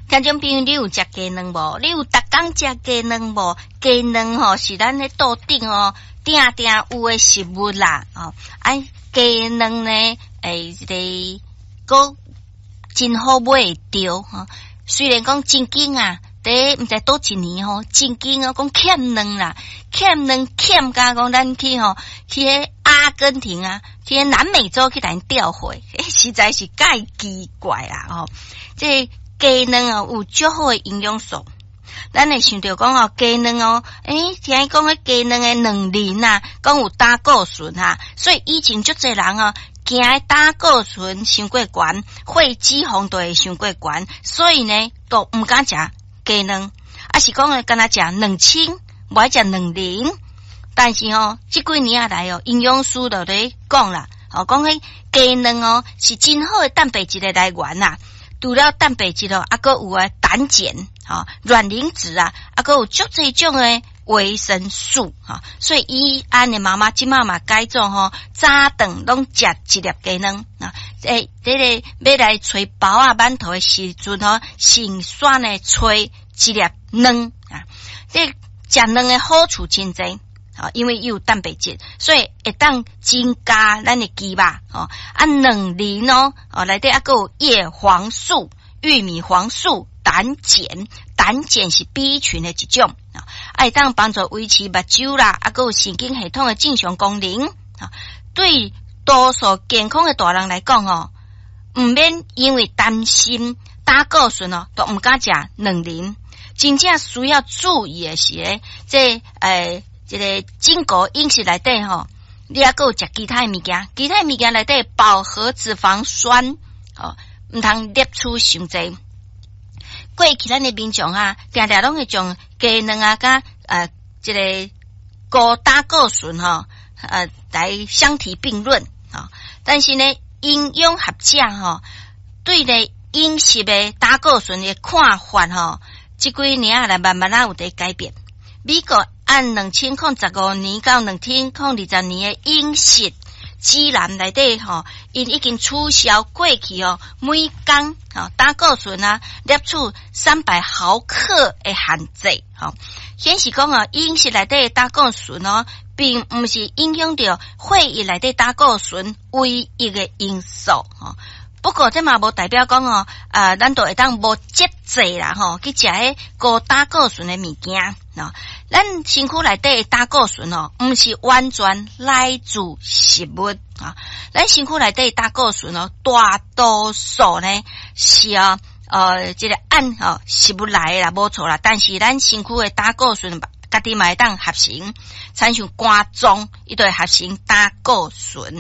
聽眾朋友，你有食雞卵無？你有逐工食雞卵無？雞卵吼是咱咧桌頂吼定定有的食物啦。哦，啊，雞卵呢，欸，這個閣真好買會著吼。雖然講曾經啊，佇毋知佗一年吼，曾經哦講欠卵啦，欠卵欠甲講咱去吼去彼阿根廷啊，去彼南美洲去共𪜶調貨，欸，實在是蓋奇怪啦吼。這雞卵哦有足好的營養素，咱會想著講哦，雞卵哦，欸，聽講彼雞卵的卵磷啊，講有膽固醇哈，所以以前足濟人哦，驚膽固醇傷過懸，血脂肪就會傷過懸，所以呢，都毋敢食雞卵，抑是講干焦食卵清，無愛食卵磷。但是吼，這幾年仔來哦，營養師就咧講啦，哦，講彼雞卵哦是真好的蛋白質的來源啦。除了蛋白質哦，猶閣有啊膽鹼、吼卵磷脂啊，猶閣有足濟種的維生素，吼。所以伊安的媽媽這馬嘛改做吼，早頓攏食一粒雞卵啊。欸，這個欲來揣包仔饅頭的時陣吼，先選呢揣一粒卵啊。這食卵的好處真濟。因為伊有蛋白質，所以會當增加咱的肌肉。吼，啊，卵磷哦，哦，內底猶閣有葉黃素、玉米黃素、膽鹼，膽鹼是 B 群的一種，啊，會當幫助維持目睭啦，猶閣有神經系統的正常功能。啊，對多數健康的大人來講哦，毋免因為擔心膽固醇哦，都毋敢食卵磷。真正需要注意的是咧，這欸這個整個飲食內底吼，你猶閣有食其他的物件，其他的物件內底飽和脂肪酸，吼，毋通攝取傷濟。過去咱的民眾啊，定定攏會將雞卵啊，佮這個高膽固醇吼，來相提並論啊。但是呢，營養學者吼，對咧飲食的膽固醇的看法吼，這幾年來慢慢仔有佇改變。美國按2015年到2020年的飲食指南內底吼，𪜶已經取消過去哦，每工吼膽固醇啊攝取300毫克的限制，吼，顯示講哦，飲食內底的膽固醇哦，並毋是影響著血液內底膽固醇唯一的因素，吼。不過這嘛無代表講哦，啊，咱就會當無節制啦，吼，去食彼高膽固醇的物件，喏。咱身軀內底的膽固醇哦，毋是完全來自食物啊。咱身軀內底的膽固醇哦，大多數呢是哦，這個按吼食物來的啦，無錯啦。但是咱身軀的膽固醇家己嘛會當合成，親像肝臟，伊就會合成膽固醇。